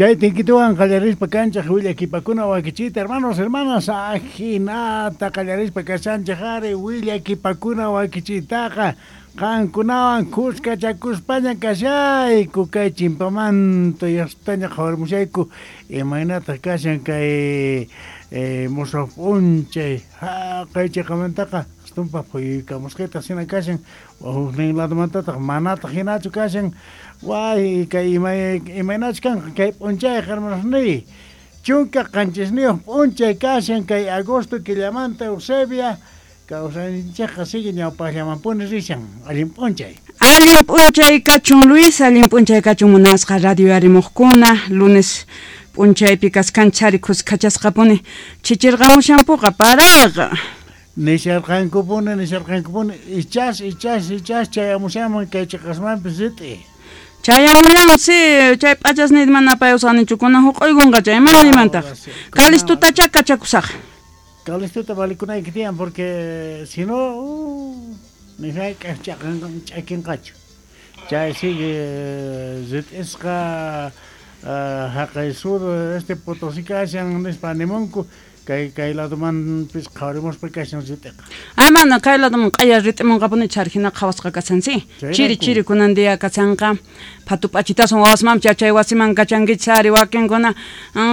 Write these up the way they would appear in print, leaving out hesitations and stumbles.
Chay tinkituwan qallarispa kanchej willakipakuna wakichiyta, hermanos, hermanas, ajinata qallarispa kashanchej ari willakipakuna wakichiytaqa qankunawan khuskachakuspaña kashayku kay chimpamanta yastaña qhawarimushayku imaynataq kashan kay mosoj p'unchay jaqay cheqamantaqa astumpa phuyuykamusqita hina kashan huknin ladomantataq manataq hinachu kashan way kay imaynachus kanqa kay p'unchayqa hermanosniy 17 p'unchay kashan kay agosto killamanta Eusebia kawsayninchikqa sigue ñawpaqllamanpuni rishan allin p'unchay. Allin p'unchay kachun Luis, allin p'unchay kachun munasqa radio yarimuqkuna, lunes p'unchaypi kaskanchari khuskachasqapuni chichirqamushampuqa paraqa. Nisharqankupuni, nisharqankupuni, ichas, ichas, ichas chayamushanman kay chiqasmanpis rit'i. Chayamuyansi, chay p'achasniyta mana apayusqanichu, kunan huq'uykunqa chay mana nimantaq. Calistutacha kachakusaq. Calistuta valikunayki tiyan porque si no, ni hayk'aq ch'akinqachu. Chay sigue rit'isqa haqay sur este Potosí kashan nispa animunku kay kay ladomanpis qhawarimuspa kashan rit'iqa. Ah, mana kay ladoman q'aya rit'imunqapuni chari hina qhawasqa kashan si. Chiri chiri kunan día kashanqa phatu p'achitasun wawasmanpis yachay wasiman kachankichis ari wakinkuna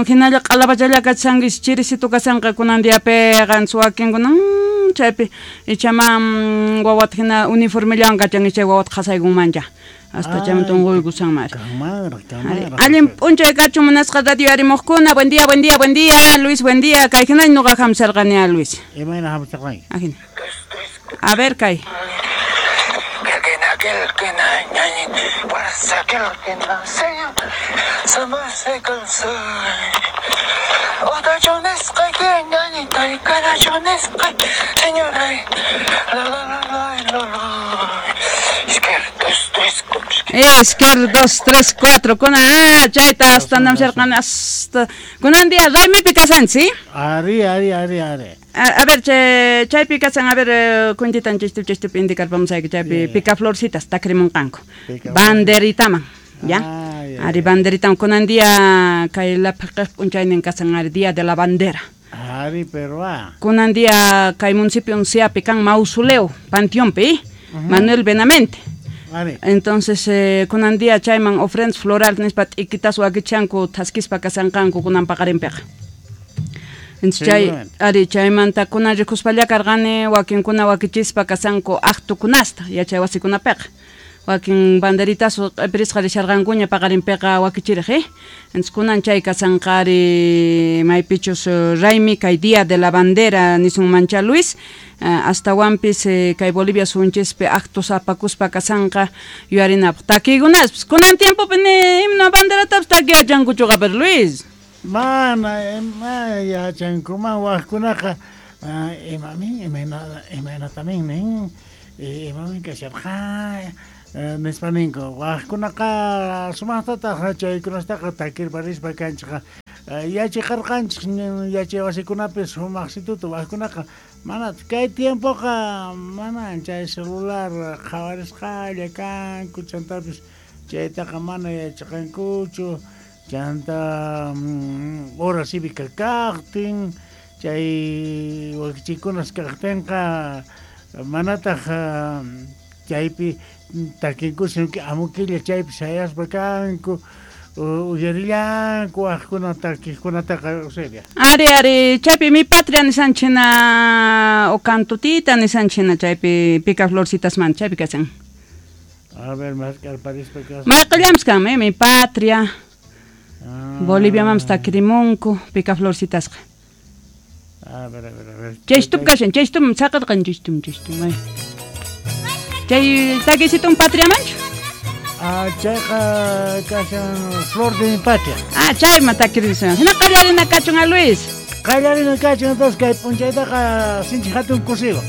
hinalla q'alapachalla kachankichis chirisitu kashanqa kunan diapiqa wakinkuna chaypi ichama wawata hina uniformellawan kachankichis chay wawata qhasaykunmancha. Hasta chaymanta unquykusanmari. Allin p'unchay kachun munasqa radio yarimuqkuna. Buen día, buen día, buen día. Luis, buen día. Kay hinaña nuqa hamsarqani a Luis. Imayna hamsarqanki? Ajina. A ver, kay. Izquierda, 2, 3, 4. Kunan, chayta hasta namsharqani hasta. Kunan día raymipi kasanchis, ¿sí? Ari, ari, ari, ari. A ver, chaypi kasan, a ver, cuentitan chishtup indicarpamusayki chaypi picaflorcitas takrimunqanku. Banderitaman, ¿ya? Ari banderitaman kunan día kay laphiqej p'unchaynin kasan ari día de la bandera. Ari, pero ah. Kunan día kay municipio unciapi kan mausoleo panteonpi, Manuel Benamente. Entonces, kunan día chayman ofrendas floral nispa t'ikitas wakichanku thaskispa kasanqanku kunan paqarinpiqa. Entonces, chay ari chaymanta kunan rikuspalla karqani wakinkuna wakichispa kasanku aqtukunasta yachay wasikunapiqa. Wakin banderitas q'ipirisqa risharqankuña paqarinpiqa wakichiriq, Entonces, kunan chay kasanqa ari maypichus raymi kay día de la bandera nisunmancha Luis. Astawanpis kay Bolivia sunchispi actos apakuspa kasanqa yuyarinapaq takiykunaspis kunan tiempopi ni himno banderatapis takiyachankuchuqa pero Luis. Mana yachankuman wajkunaqa imamin imaynatamin nin imamin kasharqa nispa ninku wajkunaqa sumaqtataq chaykunastaqa takirparispa kanchikqa yachiqarqanchik yachay wasikunapi sumaqsituta wajkunaqa mana kay tiempoqa mana chay celular qhawarisqalla kanku chantapis chaytaqa mana yachaqankuchu chanta hora cívica kaqtin chay wakichikunas kaqtinqa manataq chaypi takinkusi amukilla chaypi sayaspa kanku uyarillanku wajkuna takiqkunataqa Eusebia. Ari, ari, chaypi mi patria nisanchina o cantutita nisanchina chaypi picaflorcitasmanta chaypi kasan. A ver, maskarparispa kasan. Mayqillanpis kanmi mi patria. Boliviamanpis takirimunku picaflorcitasqa. A ver, a ver, a ver. Chaystup kashan, chaystup saqirqan chaystup, chaystup. Chay takisitun patriamanchu? Ah, chayqa kashan flor de mi patria. Ah, chayma takirisun. Hina qallarina kachun a Luis. Qallarina kachun entonces kay p'unchaytaqa sinchi hatun kusiwan.